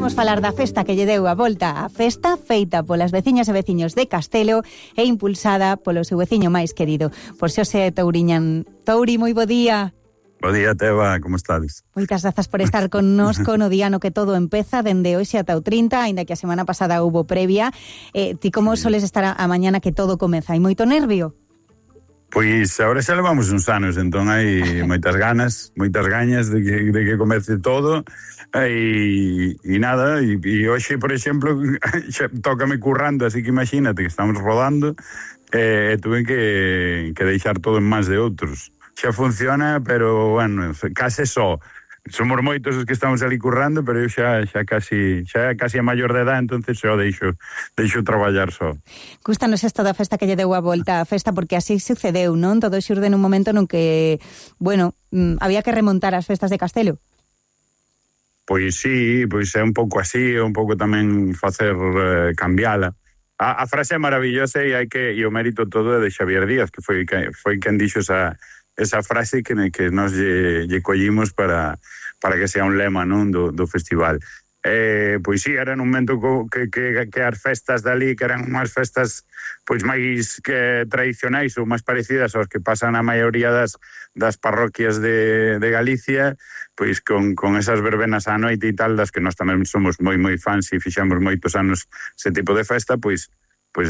imos falar da festa que lle deu a volta á festa, feita polas veciñas e veciños de Castelo e impulsada polo seu veciño máis querido, por Xosé Touriñán. Touri, moi bo día. Bo día, Teba, como estades? Moitas grazas por estar connosco no día no que todo empeza, dende hoxe ata o 30, aínda que a semana pasada hubo previa. Ti como soles estar a mañana que todo comeza? Hai moito nervio? Pois agora xa levamos uns anos, entón hai moitas gañas de que comece todo. E nada, e hoxe, por exemplo, xa tócame currando, así que imagínate que estamos rodando e tuve que deixar todo en mans de outros. Xa funciona, pero, bueno, case só. Somos moitos os que estamos ali currando, pero eu xa casi a maior de edad, entonces xa deixo traballar só. Gústanos isto da festa que lle deu a volta á festa, porque así sucedeu, non? Todo xurde nun momento nun que, bueno, había que remontar as festas de Castelo. Pois sí, pois é un pouco así, é un pouco tamén facer cambiala. A frase é maravillosa e o mérito todo é de Xavier Díaz, que foi quen dixo esa frase que nos lle collimos para que sea un lema, non, do festival. Pois sí, era nun momento que as festas dali, que eran unhas festas pois máis que tradicionais ou máis parecidas aos que pasan a maioría das parroquias de Galicia, pois con esas verbenas á noite e tal, das que nós tamén somos moi fans e fixamos moitos anos ese tipo de festa, pois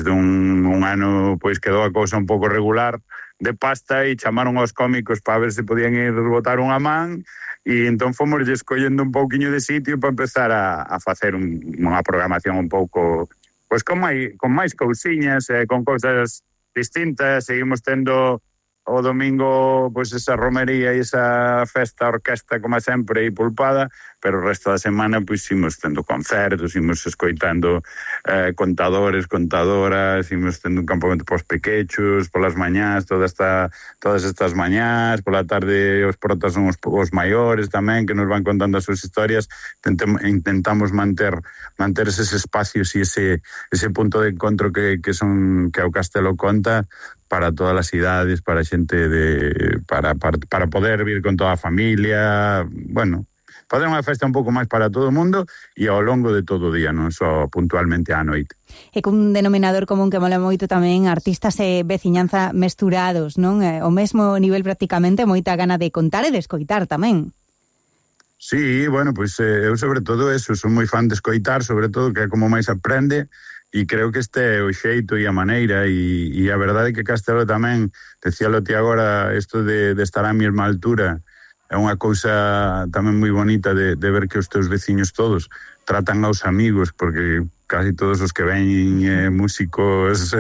dun ano pois quedou a cousa un pouco regular de pasta e chamaron aos cómicos para ver se podían ir botar unha man e entón fomos escollendo un pouquiño de sitio para empezar a facer unha programación un pouco pois con máis cousiñas, con cousas distintas. Seguimos tendo o domingo pois esa romería e esa festa orquesta como sempre e pulpada, pero o resto da semana pois imos tendo concertos, imos escoitando contadores, contadoras, imos tendo un campamento pos pequechos, polas mañás, todas estas mañás, pola tarde os protas son os maiores tamén, que nos van contando as súas historias. Intentamos manter eses espacios e ese punto de encontro que o Castelo conta para todas as idades, para a xente para poder vir con toda a familia, bueno, fazer unha festa un pouco máis para todo o mundo e ao longo de todo o día, non só puntualmente á noite. E cun denominador común que mola moito tamén, artistas e veciñanza mesturados, non? O mesmo nivel prácticamente, moita gana de contar e de escoitar tamén. Sí, bueno, pois eu sobre todo eso, son moi fan de escoitar, sobre todo que é como máis aprende. E creo que este é o xeito e a maneira e a verdade é que Castelo tamén, decíalo ti agora, isto de estar á mesma altura é unha cousa tamén moi bonita de ver que os teus veciños todos tratan aos amigos, porque casi todos os que ven músicos,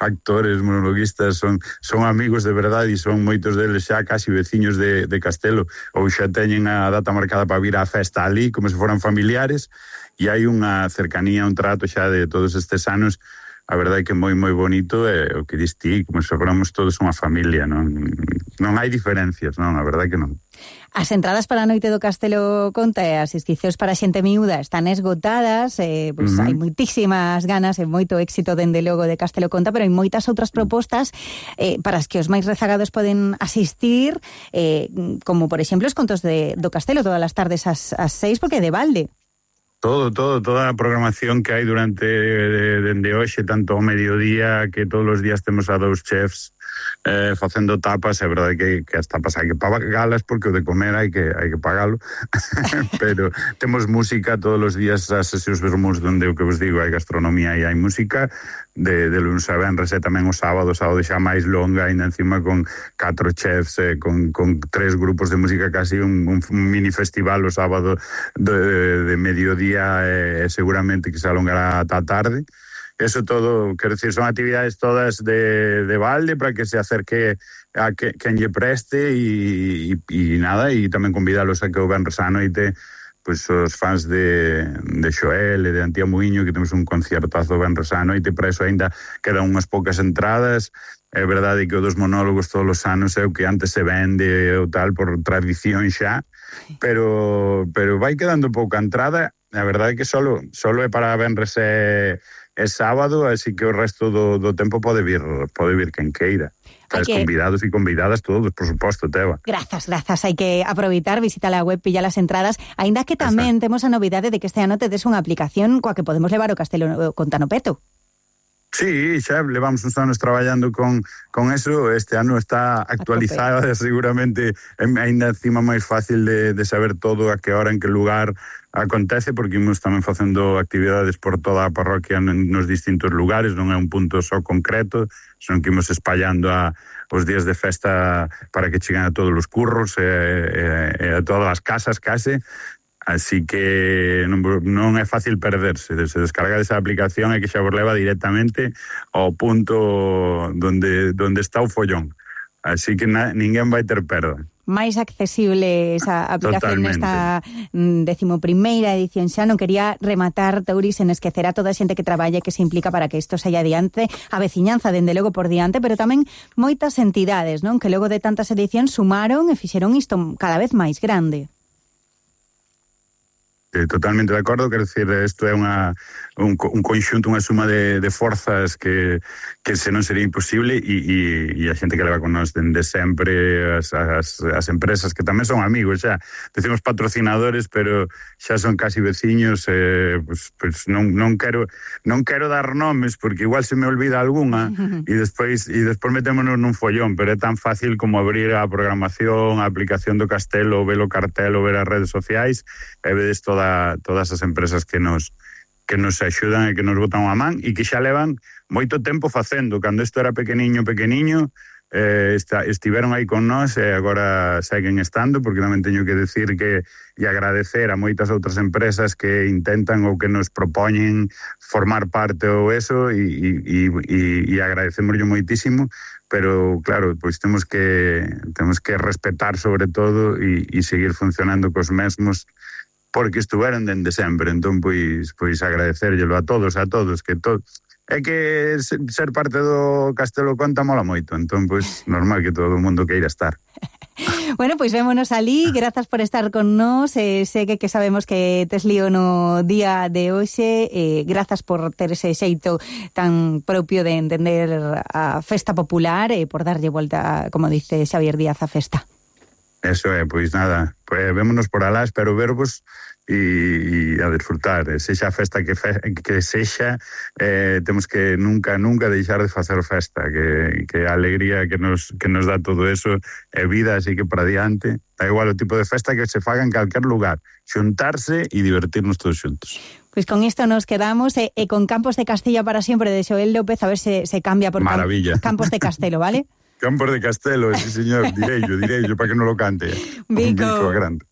actores, monologuistas son amigos de verdade e son moitos deles xa casi veciños de Castelo ou xa teñen a data marcada para vir á festa ali como se foran familiares. E hai unha cercanía, un trato xa de todos estes anos, a verdade é que moi bonito, o que dis ti, como se fóramos todos unha familia, non hai diferencias, non, a verdade é que non. As entradas para a noite do Castelo Conta e as inscricións para xente miúda están esgotadas, pois hai moitísimas ganas e moito éxito dende logo de Castelo Conta, pero hai moitas outras propostas para as que os máis rezagados poden asistir, como por exemplo os contos do Castelo todas as tardes ás 6, porque é de balde. Toda a programación que hai durante dende hoxe, tanto ao mediodía, que todos os días temos a 2 chefs facendo tapas. É verdade que as tapas hai que pagalas porque o de comer hai que pagalo pero temos música todos os días, as sesións vermús donde o que vos digo hai gastronomía e hai música de lunes a venres, e tamén o sábado xa máis longa, ainda encima con 4 chefs, con 3 grupos de música, casi un mini festival o sábado de mediodía, seguramente que se alongará ata a tarde. Eso todo, quero decir, son actividades todas de balde para que se acerque a quen lle preste e nada, e tamén convidalos a que o venres á noite pois os fans de Xoel e de Antía Muiño, que temos un concertazo venres á noite, para eso ainda quedan unhas poucas entradas. É verdade que o dos monólogos todos os anos é o que antes se vende ou tal por tradición xa, pero vai quedando pouca entrada. A verdade é que solo é para venres é sábado, así que o resto do tempo pode vir quen queira. Convidados e convidadas todos, por suposto, Teba. Grazas, hai que aproveitar, visitar a web, pillar as entradas, aínda que tamén temos a novidade de que este ano tedes unha aplicación coa que podemos levar o Castelo Conta no peto. Sí, xa levamos uns anos traballando con eso. Este ano está actualizada, seguramente ainda encima máis fácil de saber todo a que hora, en que lugar acontece, porque imos tamén facendo actividades por toda a parroquia nos distintos lugares, non é un punto só concreto, son que imos espallando os días de festa para que cheguen a todos os curros e a todas as casas case. Así que non é fácil perderse. Se descarga esa aplicación e que xa vos leva directamente ao punto donde está o follón. Así que ninguén vai ter perda. Máis accesible esa aplicación nesta 11ª edición. Xa non quería rematar, Tauri, sen esquecer a toda a xente que traballa e que se implica para que isto saia adiante, a veciñanza dende logo por diante, pero tamén moitas entidades, non? Que logo de tantas edicións sumaron e fixeron isto cada vez máis grande. Totalmente de acordo, quero dicir, isto é un conxunto, unha suma de forzas que se non sería imposible, e a xente que leva con nós dende sempre, as empresas que tamén son amigos xa, decimos patrocinadores, pero xa son casi veciños. Pues non quero dar nomes porque igual se me olvida algunha e despois metémonos nun follón, pero é tan fácil como abrir a programación, a aplicación do Castelo, ver o cartel, ver as redes sociais e vedes todas as empresas que nos axudan e que nos botan a man e que xa levan moito tempo facendo. Cando isto era pequeniño, estiveron aí con nós e agora seguen estando, porque tamén teño que decir que e agradecer a moitas outras empresas que intentan ou que nos propoñen formar parte ou eso, e agradecemoslle moitísimo, pero claro, pois temos que respetar sobre todo e seguir funcionando cos mesmos, porque estuveron dende sempre. Entón, pois agradecerllelo a todos, que é que ser parte do Castelo Conta mola moito, entón, pois, normal que todo o mundo queira estar. Bueno, pois vémonos alí, grazas por estar con nós, sei que sabemos que tes lío no día de hoxe, grazas por ter ese xeito tan propio de entender a festa popular e por darlle volta, como dice Xavier Díaz, a festa. Eso é, pois nada, vémonos por alá, espero vervos e a disfrutar. Sexa a festa que sexa, temos que nunca deixar de facer festa, que a alegría que nos dá todo eso é vida, así que para diante, da igual o tipo de festa que se faga en calquer lugar, xuntarse e divertirnos todos xuntos. Pois con isto nos quedamos e con Campos de Castilla para sempre de Xoel López, a ver se cambia por Campos de Castelo, vale? Campos de Castelo, sí señor, direillo, para que non lo cante. Bico. Grande.